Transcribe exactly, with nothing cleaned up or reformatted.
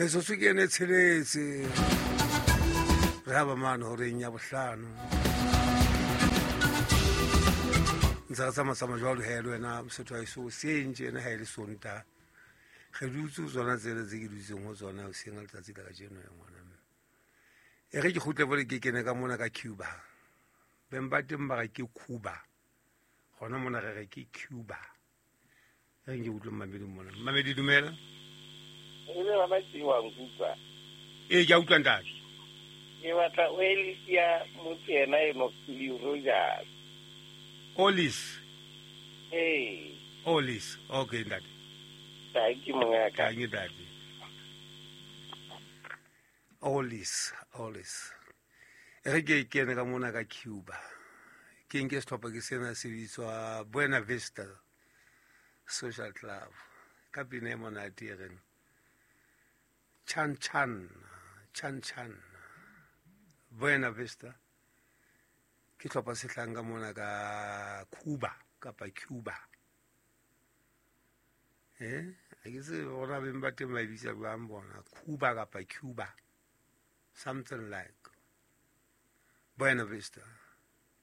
Metsotso ke ene tsheletse re haba mane horeng ya bohlano. Ntse re tsamatsamaya jwalo he le wena Mosotho wa heso hoseng tjena ha e le Sontaha. Re dutse ho tsona tsela tse ke dutseng ho tsona hoseng ka letsatsi la kajeno ya ngwana mme. E re ke kgutle bole ke kene ka mona ka Cuba. Beng ba teng ba re ke Cuba. Hona mona re re ke Cuba. E re nke utlwe mmamedi mona. Mmamedi dumela. E be bana ke wa nkutlwa. Ee, ke a utlwa ntate. Ke batla o elisia motho yena eno Lee Rogers. Olis. Ee. Olis. Okay ntate. Thank you mongaka. Thank you ntate. Olis, Olis. E re ke kene ka mona ka Cuba. Ke nke sehlopha ke sena se bitswa Buena Vista Social Club. Ka pina e monate e reng Chan Chan, Chan Chan. Buena Vista. Ke hlopha se hlang ka mona ka Cuba kapa Cuba. Eh, ha ke tsebe hore beng ba teng ba e bitsa jwang bona, Cuba kapa Cuba. Something like Buena Vista.